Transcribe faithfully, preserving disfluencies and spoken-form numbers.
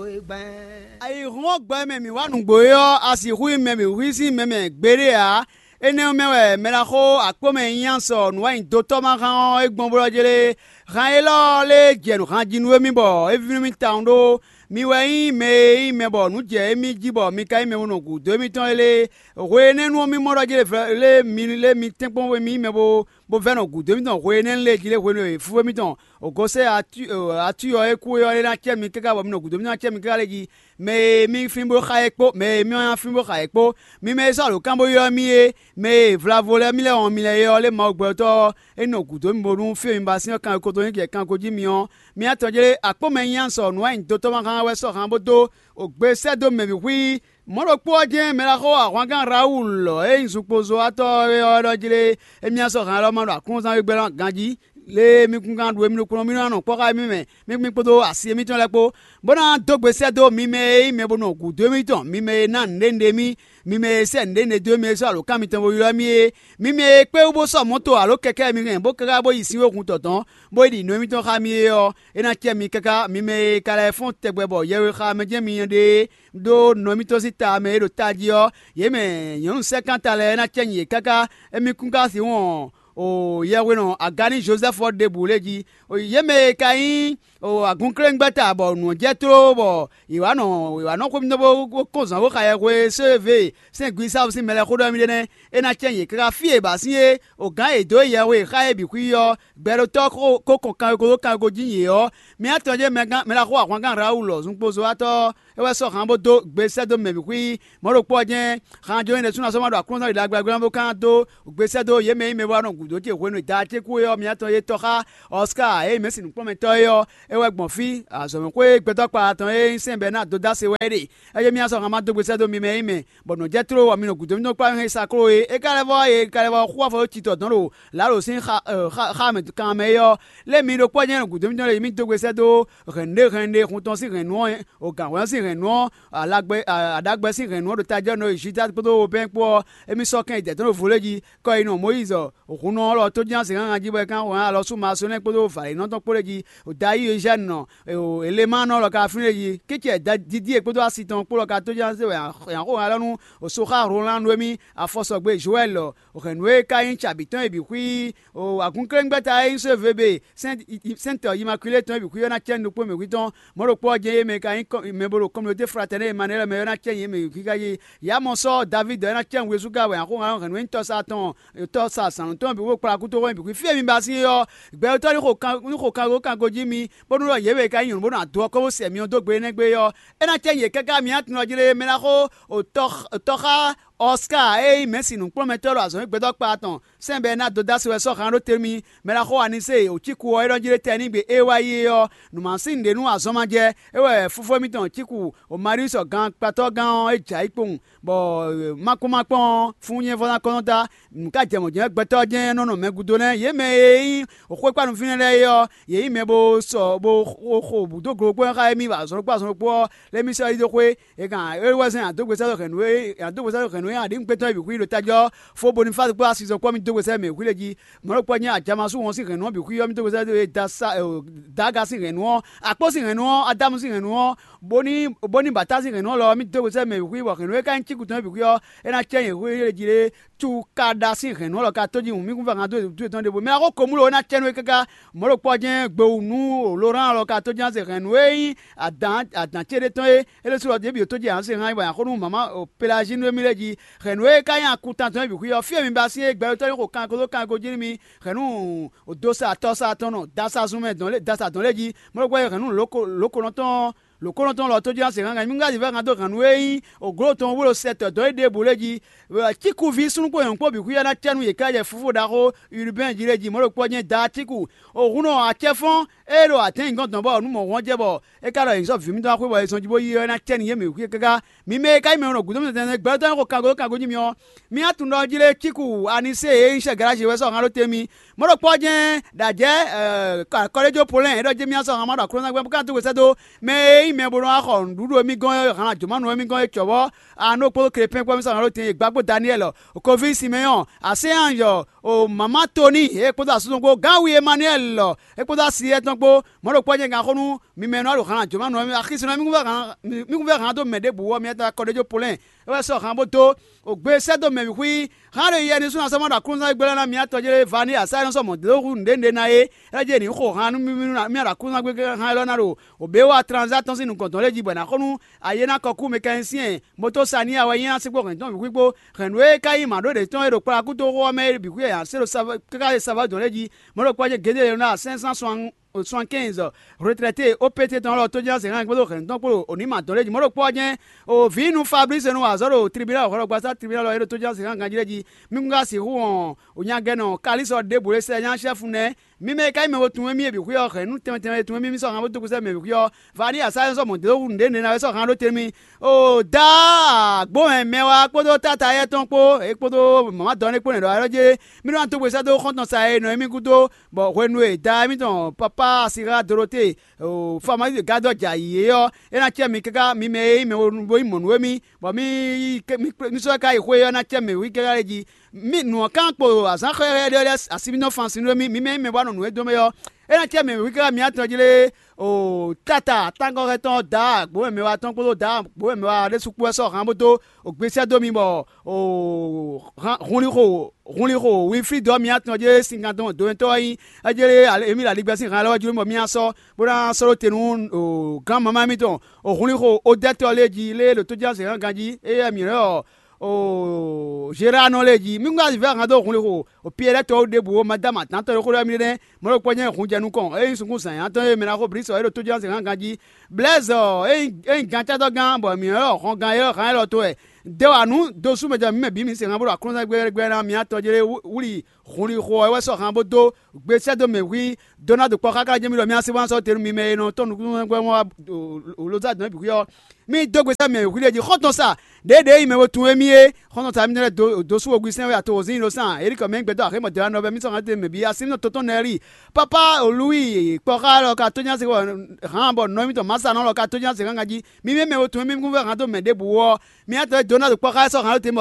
Ayǐhɔ́ngbe mɛ mǐ wa nǔgbó é ɔ́, a sixú nyí mɛ mǐ hwí sín mɛ mɛ gbeɖé ǎ. Énɛ́ ɔ́ mɛ wɛ mɛɖaxó Akpɔ́mɛ Nyínyá sɔ nǔwanyido tɔ́ ma hán ɔ́ é gbɔn bó ɖɔ jlé. Han élɔ́ lé jɛ nǔ han jí nú émí bɔ é vínú mì tawun ɖó. Mi wɛ nyí mɛ e nyí mɛ bɔ nǔ jɛ émí jí bɔ mi ka nyí mɛ e nɔ gǔdo émítɔn é lé. Hwe énɛ́ nu ɔ́, mì mɔ ɖɔ jlé lé mi lé mi tɛ́nkpɔ́n mì nyí mɛ bo bó vɛ́ nɔ gǔdo émítɔn hwe énɛ́ lé jí lé hwenu e fú émítɔn Gosɛ́n atú ɔ́ e kú é ɔ́ é ná cɛ mi káká bɔ mi nɔ gǔdo mì ná cɛ mi káká lɛ́ɛ jí. Mɛ e mì fín bó xa é kpó mɛ e mì ná fín bó xa é kpó, mi mɛ e sɔ́ alǒkan bó ylɔ́ mì é, mɛ e vlavo lɛ́ɛ mì lɛ́ wɔn mi lɛ́ɛ é ɔ́, lé Mawu gbɛtɔ́ ɔ́, é nɔ gǔdo mì bónú fí e mi ba sín ɔ́ kan ko tó nyí jɛ kanko jí mi ɔ́, mi atɔn jlé akpó mɛ nyí sɔ nǔ wa nyi dotɔ́ ma hán wɛ sɔ́ hán bó dó gbe sɛ́ dó mɛ bǐ xwí. Mɔ̌ ɖokpó ɔ́ jɛ́n mɛ ɖaxó ahwangán Rawulu e nyí zunkpozɔ́watɔ́ é ɔ́ ɖɔ jlé émí ná sɔ́ han élɔ́ ma ɖo aklúnɔzán wegblɛ́ ɔ́ ganjí. Lě e mi kún gán ɖu émí ɖokpónɔ mì nɔ kpɔ́ xá émí mɛ, mì kún kpódó asi émítɔn lɛ́ɛ kpó, bó ná dó gbe sɛ́ dó mi mɛ e nyí mɛ bo nɔ gǔdo émítɔn, mi mɛ e ná nǔɖé nǔɖé mì, mi mɛ e sɛ́ nǔɖé nǔɖé dó mi e sɔ́ alǒkan mitɔn bo ylɔ́ mì é, mi mɛ e kpé wú bó sɔ́ mɔ̌to alo kɛkɛ́ mi hɛn bó káká bó yi sin wexun tɔtɔn, bó yi ɖi nǔ émítɔn xá mi é ɔ́, é ná cɛ mi káká. Mi mɛ e ka lɛ́ fɔ́n tɛgbɛ bɔ yɛwe xa mɛ jɛ́n mi nyɛ ɖe é, ɖó nɔ émítɔn sín ta mɛ e ɖo tají ɔ́, yě mɛ nyɔ̌nu sɛ́kánta lɛ́ɛ ná cɛ nyi yě káká. Émí kún ka sixú wɔn o yɛhwenɔ Aganní Jozɛ́fu ɔ́ ɖěbǔ lě jí. Yě mɛ e ka nyí agɔnkléngbɛ́ta bɔ nǔ ɔ́ jɛ tló bɔ yě wá nɔ yě wá nɔ xwé mitɔn bó kɔn zǎn bó xa yɛhwe sɛ́ e vě sɛ́n Glísáfu sín mɛ lɛ́ɛ xó ɖɔ émí ɖe nɛ́. É ná cɛ yě káká fí e è ba sín é, o gǎn e è dǒ yɛhwe e xá é bǐ xwí ɔ́, gbɛɖotɔ́ ko kɔn kanweko dó kanweko jí yě ɔ́, mi atɔn jɛ́n mɛ ɖaxó ahwangán Rawulu zunkpozɔ́watɔ́ ɔ́, é wɛ sɔ́ han bó dó gbe sɛ́ dó mɛ bǐ xwí. Mɔ̌ ɖokpó ɔ́ jɛ́n, han jó nyí ɖésúnɔ sɔ́ ma ɖo Aklúnɔzán ɖagbe ɔ́ bó ka ná dó gbe sɛ́ dó yě mɛ e nyí mɛ bó wá nɔ gǔdo ce hwenu e da ce kú é ɔ́, mi atɔn e tɔ́ xá Ɔská e nyí mɛ̌si nǔkplɔ́nmɛtɔ́ é ɔ́, é wɛ gbɔn fí. Azɔ̌mɛxwé gbɛtɔ́ kpalaatɔn e nyí sɛ́n bɔ é ná dó dó ase wɛ é ɖe. É jɛ́n mì ná sɔ́ han ma dó gbe sɛ́ dó mi mɛ e nyí mɛ, bɔ nǔ jɛ tló bɔ mi nɔ gǔdo mitɔn kplá mɛ e sa kló é. É ka lɛ́ vɔ́ é ka lɛ́ vɔ xú afɔ dó titɔ dɔn ɖo Lǎlo sín xá mɛ kan mɛ é ɔ́, lé mi ɖokpó ɔ́ jɛ́n nɔ gǔdo mitɔn lě mì dó gbe sɛ́ dó hɛ̌nnu ɖé hɛ̌nnu ɖé hun tɔn sín hɛ̌nnu ɔ́, o gǎnhwɛ́n ɔ́ sín hɛ̌nnu ɔ́, alagbɛ aɖagbɛ sín hɛ̌nnu ɔ́ ɖo tají ɔ́ nɔ yi Judáa kpódó Wobɛ́n kpó ɔ́, émí sɔ́ kɛn yi dɛ̌ tɔn ɖo vo lé jí. Kɔ e nɔ Mɔyízi hunnɔ ɔ́ lɔ tó jínjɔ́n zǐngángan jí bɔ é ka hwlɛ́n alɔ sú Maasonɛ́ kpódó Valěnɔ́ tɔn kpó lɛ́ɛ jí. Dayíi Ezɛ́nu nɔ Elemanu ɔ́ lɔ ka fínɛ́ jí. Kícɛ Didíe kpódó asi tɔn kpó lɔ ka tó jínjɔ́n zé wɛ è nǎ xo hɛn alɔ nú Soxá Hlolán nú émí afɔsɔgbe Jowɛ́li lɔ. Hɛ̌nnu e ka nyí cabǐ tɔn e bǐ xwí agúnkléngbɛ́ta e nyí Sovebe sɛ́ntɔ Imakulée tɔn e bǐ xwí ɔ́ ná cɛ́ nukpó mǐ xwí tɔn. Mɔ̌ ɖokpó ɔ́ jɛ́n yě mɛ e ka nyí mɛ bo ɖo kɔmilóté fratɛnɛ́ Emanɛ́lɛ mɛ ɔ́ ná cɛ́ yě mɛ xwí kájí. Yě ná mɔ sɔ́ Davídi ɔ́ é ná cɛ́ nǔ e sú ká wɛ axɔ́ hɛ̌nnu e nyí tɔsa tɔn tɔsa zǎnnu tɔn bǐ bó kplá kútoxo bǐ xwí fí e mi ba sín é ɔ́, gbɛtɔ́ ní xo kango kango jí mi, bónú ɖɔ yě mɛ e ka nyí nyɔ̌nu bó ná dó ɔ́ kɔ́ bó sɛ mi ɔ́ dó gbe énɛ́ gbe é ɔ́, é ná cɛ́ yě káká mi ná tunwun jí lé mɛ ná xó tɔ́xá Ɔská e nyí mɛ̌si nǔkplɔ́nmɛtɔ́ ɖo azɔ̌ e gbɛtɔ́ kpa tɔn sɛ́n bɔ é ná dó dó así wɛ sɔ́ han ɖó te mì. Mɛ ná xo Anisée wǒ cíku ɔ́ é ɖɔ jí ɖé tɛnígbe e wá yi é ɔ́, nǔ ma sín nǔɖé nú azɔn ma jɛ. É wɛ fúfó mitɔn cíku o Mariusɔ gankpatɔ́gán ɔ́ é jɛ ayǐ kpowun, bɔ ma kpɔ́n ma kpɔ́n ɔ́, fún nyɛ́ vɔ́ ná kɔ́ nɔ dá. Nǔ ka jɛ mɔ̌ jɛ́n gbɛtɔ́ jɛ́n nɔ nɔ mɛ gúdo nɛ́. Yě mɛ e nyí xwékpánufínɛ́ lɛ́ɛ é ɔ́, yě nyí mɛ bo sɔ bo xo bǔ dó glo kpó xá émí azɔn ɖokpó azɔn ɖokpó ɔ́, lɛ́ mì sɔ́ yi dó xwé. È kan é wɛ zɛ́n adógbesɛ́ hɛ̌nnu e adógbesɛ́ hɛ̌nnu e aɖǐ gbɛtɔ́ bǐ xwí ɖo tají ɔ́, fó Bonifási kpó asizɔ́ kpó mì dó gbesɛ́ mɛ xwí lɛ́ɛ jí. Mɔ̌ ɖokpó ɔ́ nyí ajamasu wɔn sín hɛ̌nnu ɔ́ bǐ xwí ɔ́, mì dó gbesɛ́ dó e Dasa Daga sín hɛ̌nnu ɔ́, Akpó sín hɛ̌nnu ɔ́, Adámu sín hɛ̌nnu ɔ́, Boni Boni Bata sín hɛ̌nnu ɔ́ lɔ, mì dó gbesɛ́ mɛ bǐ xwí, bɔ hɛ̌nnu e ka nyí cíkutɔn bǐ xwí ɔ́, é ná cɛ nyɛ xwé jí lé. Cu ka ɖa sín hɛ̌nnu ɔ́ lɔ ka tó jí wǔn mì kún fá hán dó dú yětɔn ɖěvo. Mɛ ná xó komúlo ɔ́ ná cɛ nú é káká. Mɔ̌ ɖokpó ɔ́ jɛ́n gbewunu Lorán lɔ ka tó ján se hɛ̌nnu e nyí adǎn adǎn ce ɖé tɔn é. É ɖésú lɔ ɖěbǔ tó jɛ hǎn se hán bɔ nyaxó nú mama Pelazínu émí lɛ́ɛ jí. Hɛ̌nnu e ka nyí akutan tɔn é bǐ xwí ɔ́, fí e mi ba sín é gbɛɖotɔ́ ní xo kanko dó kanko jí nú mi. Hɛ̌nnu dósa tɔsa tɔn nɔ dasa zunmɛ dɔn lé dasa dɔn lé jí. Mɔ̌ ɖokpó ɔ́ hɛ̌nnu lǒko lǒkonɔ tɔn lǒkonɔ tɔn lɔ tó ján se hán gǎn mi ŋgá ɖi vɛ́ hán dó hɛ̌nnu e nyí ògló tɔn wú ɖo sɛ tɔ̌ dɔn é ɖěbǔ lé jí. Cíkuví súnnu kpó nyɔ̌nu kpó bǐ xwíyɔ́ ná cɛ nú yě ká jɛ fúfú ɖaxó Urubɛ́n jí lé jí. Mɔ̌ ɖokpó ɔ́ jɛ́n Daacíku. O hun nɔ acɛ́fɔ́n e ɖo atɛ̌nnyǐgɔ́n dɔn bɔ nǔ mɔ̌ wɔn jɛ bɔ é ka ɖɔ nyǐ sɔ́ vǐ mitɔn wá xwé bɔ è zɔn jí bó yí ɔ́, é ná cɛ nú yě mɛ xwé káká. Mi mɛ e ka nyí mɛ e nɔ gǔdo mitɔn tɛnmɛ gbɛɖotɔ́ nyí xo kango dó kango jí mi ɔ́, mi ná tunwun ɖɔ jí lé Cíku Anisée e nyí sɛ́ Galaji wɛ sɔ́ han ɖó te mi. Mɔ̌ ɖokpó ɔ́ jɛ́n ɖo ajɛ̌ kɔlɛ́jó Polɛ́ɛ é ɖɔ jí mì ná sɔ́ han ma ɖo Aklúnɔzán gbɛ́ bó ka dó gbe sɛ́ dó mɛ e nyí mɛ bo nɔ wá xɔ nǔɖuɖu émí gɔ́n é, han ajǒmanu émí gɔ́n é cɔ̌ bɔ a nɔ kpódó Klepɛ́n kpó mì sɔ́ han ɖó te e gbá kpó Daniyɛ́li, Koví Simeyɔ́ɔ, Asɛ́anzɔ O mama Toni, e kpódó asúnɔ kpó gán wi Emmanuel lɔ, e kpódó asi yɛ́ tɔn kpó, mɔ̌ ɖokpó ɔ́ nyɛ gǎn xó nú mi mɛ e nɔ ɖo han jǒma nɔ mɛ axisúnɔ mì kún vɛ́ han mì kún vɛ́ han dó mɛ ɖěbǔ ɔ́, miatɔn akɔɖéjó Polɛ́n é wɛ sɔ́ han bó dó. O gbe sɛ́ dó mɛ bǐ xwí. Han ɖo yɛ ní súnnu asɔ́ ma ɖo aklúnɔzán gbé lɛ́ɛ ná miatɔn jlé Vani asá nɔ sɔ́ mɔ̌ dó hú nǔɖé nǔɖé ná é. É jɛ ní xo han nú mì mì mì ɖo aklúnɔzán gbé han élɔ́ ná ɖo o bě wa tranzá tɔn sín nukɔn tɔn lɛ́ɛ jí bɔ è nǎ xo nú ayé ná kɔ kú mɛkɛnsiɛn moto Saniya wɛ nyí ná sí kpó hɛn tɔn bǐ xwí kpó. Hɛ̌nnu e ka nyí mǎɖóɖě tɔn e ɖo kplakútoxo ɔ́ mɛ é bǐ xwí wɛ è nǎ se ɖo káká e savɔ́ dɔn lɛ́ɛ jí. Mɔ̌ ɖokpó ɔ́ jɛ́n Gedeyona cinq cent soixante-quinze retraité O P T tɔn lɔ tójínjɔ́n zěhan kpódó hɛ̌nnu tɔn kpó ɖo nǐ mǎ dɔn lɛ́ɛ jí. Mɔ̌ ɖokpó ɔ́ jɛ́n o vǐ nú Fablíse nɔ wa azɔ̌ ɖo tribunal hwɛɖɔgbasá tribunal ɔ́ e ɖo tójínjɔ́n zěhan ganjí lɛ́ɛ jí. Mí kún ka sixú hɔn nyagɛnɔ Kalísɔ ɖěbǔ e sɛ nyá xɛ́fu nɛ́. Mí mɛ e ka nyí mɛ we tunwun émí e bǐ xwé ɔ́, hɛ̌nnu tɛnmɛ tɛnmɛ e tunwun émí mí sɔ́ han bó dó kúsɛ mɛ bǐ xwé ɔ́, Vani asá nɔ sɔ́ mɔ̌ dó nǔɖé nɛ́ ná wɛ sɔ́ han ɖó te nú mì. O dǎ gbǒmɛ mɛ wá kpódó táta éyɛ́ tɔn kpó, é kpódó mama dɔn é kpó nɛ̌ ɖɔ wɛ jé. Mí nɔ dó gbe sɛ́ dó xɔ́ntɔn sa e nɔ émí gúdo, bɔ hwenu e da émítɔn papá Sira Dorote Famalísi gádɔ jɛ ayǐ é ɔ́, é ná cɛ mi káká mi mɛ e nyí mɛ bo nyí mɔ̌ nú émí, bɔ mí sɔ́ ká yi xwé ɔ́ ná cɛ mɛ wí káká lɛ́ɛ jí. Mí nǔ ɔ́ kán kpo azǎn xɛ́xɛ́ ɖé lɛ́ɛ asi mì nɔ fan sin nú émí, mi mɛ e nyí mɛ bó wá nɔ nǔ e dó mɛ ɔ́, é ná cɛ mɛ wí káká mi atɔn jlé. O tata tángɔ́xɛtɔn da gbǒmɛ mɛ wa tɔn kpódó da gbǒmɛ mɛ wa ɖésú kpó wɛ sɔ́ han bó dó o gbesɛ dó mi bɔ o hunlixo hunlixo winflídɔ mi atɔn jlé sinkan tɔn dowɛntɔ́ wɛ nyí. Ejlé emi ɖo aligbɛ sín han lɛ́ɛ wɛ jló bɔ mi asɔ bó ná sɔ́ ɖó te nú gán mamá mitɔn. O hunlixo odɛ́tɔ́ lé jí lé ɖo tójínjɔ́n zěhan ganjí, éyɛ́ mǐ lɛ́ ɔ Zeranɔ lé jí. Mí kún ka vɛ́ han dó hunlixo o Piyɛ́ɛ lɛ́ɛ tɔ́ ɖěbǔ ó, ma dó ama dǎn tɔn e xó ɖɔ émí ɖé nɛ́. Mɔ̌ ɖokpó jɛ́n hun jɛ nukɔn, ényí sunkún zǎnyatɔ́ e mɛ ná xó blǐ sɔ é ɖo tójínjɔ́n zěhan ganjí. Blɛ́zɔ ényí gantátɔ́gán bɔ mǐ lɛ́ ɔ hɔngán élɔ́ han élɔ́ tó wɛ. Dé wa nǔ dó sú mɛ jɛ mǐ mɛ bǐ mi se han bó ɖo aklúnɔzán gbɛ́gbɛ́ ná mi atɔn jlé wúli hunlixo ɔ́ wɛ sɔ́ han bó dó gbe sɛ́ dó mɛ hwí dó ná ɖo kpɔ́ xáxá jɛ́n mì ɖɔ mì así wá sɔ́ te nú mi mɛ e nɔ tɔ́n nukúnnú wɛn wá ɖo lozá dɔn bǐ xwí ɔ́. Mì dó gbe sɛ́ mɛ hwí ɖé jí xɔ́ntɔn sa ɖěɖě yi mɛ bo tunwun émí é. Xɔ́ntɔn sa mì lɛ́ dó sú ogbisɛn wɛ ato wǒzín ɖo sán erikɔ mɛ gbɛdɔ́ axé mɔ̌dɛ́ nɔ bɛ́ mì sɔ́ hɛn te mɛ bǐ así nɔ tɔn tɔn nɛ lí. Papa olúwi kpɔ́ xá lɔ ka tónyá se hǎn bɔ nɔ émítɔn Masa nɔ lɔ ka tónyá se hán ganjí. Mi mɛ mɛ bo tunwun émí kún fɛ hǎn dó mɛ ɖěbǔ ó ɔ́, mi atɔ́ dó ná ɖo kpɔ́ xá sɔ́ hǎn ɖó te